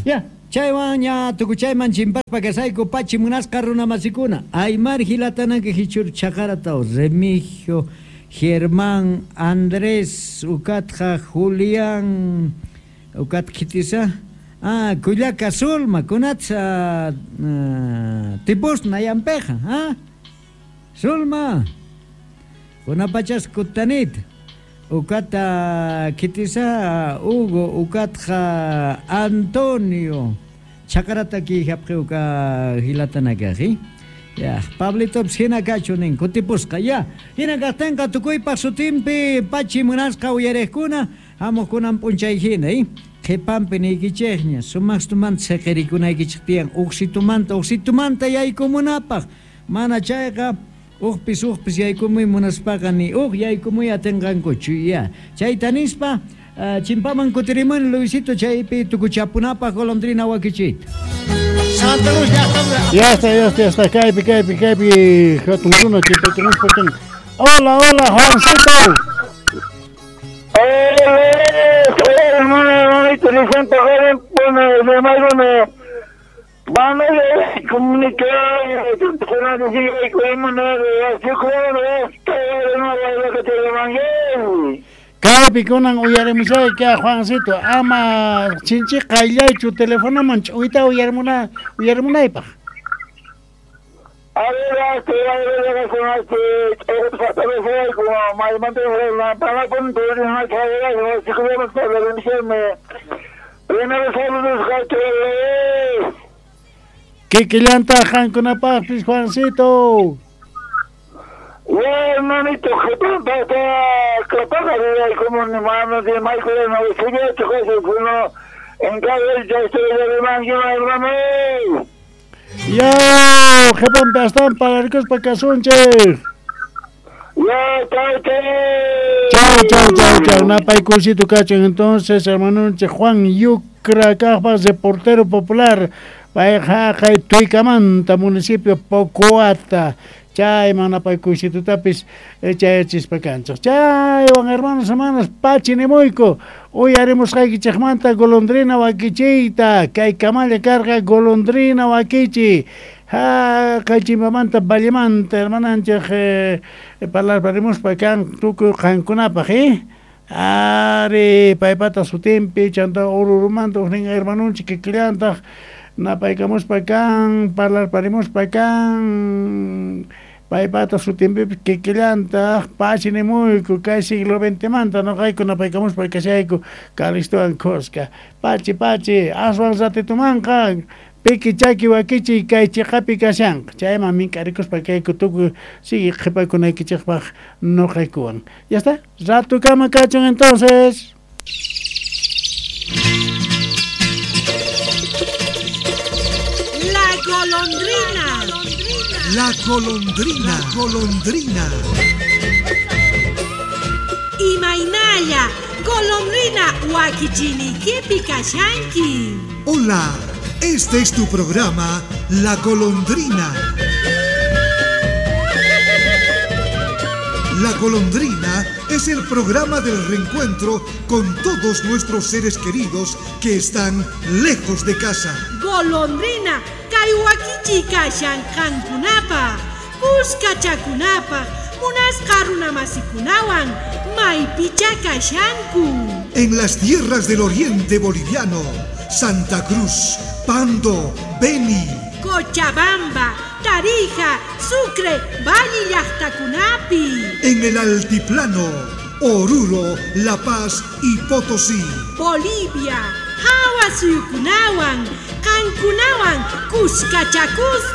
Ya, chaywan ña tukuchayman chimpaspa kasayku pachi munasqa runamasikuna. Aymar hilatanaka hichur chaqarata Remigio, Germán, Andrés, ukatqa Julián, ukat kitisa. Ah, Kullaka Sulma, kunatsa tipus nayampeja, ah? Sulma, kunapachas kutanit. Ukata kitisa Hugo, ukatqa Antonio. Chakarata ki hapqi uka hilatanakaji. Ya, Pablito hina kachu nin kutipusqa. Ya, hina kaqtinqa tukuypaq sutinpi pachi munasqa uyariqkuna hamuqkunan p'unchay hina, eh? Qhipanpi niykichikña sumaqstumanta siqirikunaykichik tiyan uqsitumanta uqsitumanta yaykumunapaq. Mana chayqa uqpis uqpis yaykumuy munaspaqa ni uq yaykumuy atinqankuchu. Ya, chayta nispa chimpaman kutirimuni Luisito chaypi tukuchapunapaq golondrina wakichiyta. Santa Cruz llaqtamanta. Ya está, ya está, ya está. Kaypi, kaypi, kaypi hatun runa chimpaykamuspa kan. Hola, hola, Juancito. Hola, hermano, hermanito, Vicente joven, bueno, hermano, vamos a comunicar, Kaypi kunan uyarimushayki, Juancito, ama chinchi qayllaychu telefonoman ch'uyta uyarimuna uyarimunaypaq. Kikillantaq qankunapaqpis, Juancito. Ya, hermanito, hermano. Ya, qhipanpi astawan pararikuspa kasunchik. Ya, chau, chau. Chau, chau, chau, chau. Napaykusito kachun. Entonces, hermanonchik Juan Yucra kaqpa reportero popular. Payqa haqay Tuykamanta, municipio Pocoata. Chayman napaykuysitutapis chayachispa kanchik. Chaywan, hermanos, hermanas, pachi nimuyku. Uyarimusqaykichikmanta golondrina wakichiyta. Kay kamalla karqa golondrina wakichi. Haqay chimpamanta vallemanta, hermananchik parlarparimuspa kan tukuy qankunapaq, eh? Ari, paypata sutinpi, chanta Orurumanta uqnin hermanunchik kikillantaq napaykamuspa kan, parlarparimuspa kan, paypata sutinpipis kikillantaq pachi nimuyku kay siglo XX noqayku napaykamuspa kashayku Calistowan khuska. Pachi, pachi, aswan ratitumanqa piki chaki wakichiy kay chiqapi kashanqa. Chayman mink'arikuspa kayku tukuy sigue qhipakunaykichikpaq noqaykuwan. Ya está, ratukama kachun entonces. La golondrina. La golondrina, golondrina. Imaynalla, golondrina wakichinikipi kashanki. Hola, este es tu programa, La Golondrina. La Golondrina es el programa del reencuentro con todos nuestros seres queridos que están lejos de casa. Golondrina, kay wakichi kashan qankunapaq, kuskachakunapaq, munasqa runamasikunawan, maypicha kashanku. En las tierras del oriente boliviano, Santa Cruz, Pando, Beni, Cochabamba, Tarija, Sucre, Valle llaqtakunapi. En el altiplano, Oruro, La Paz y Potosí. Bolivia, hawa suyukunawan, qankunawan, kuskachakuspa.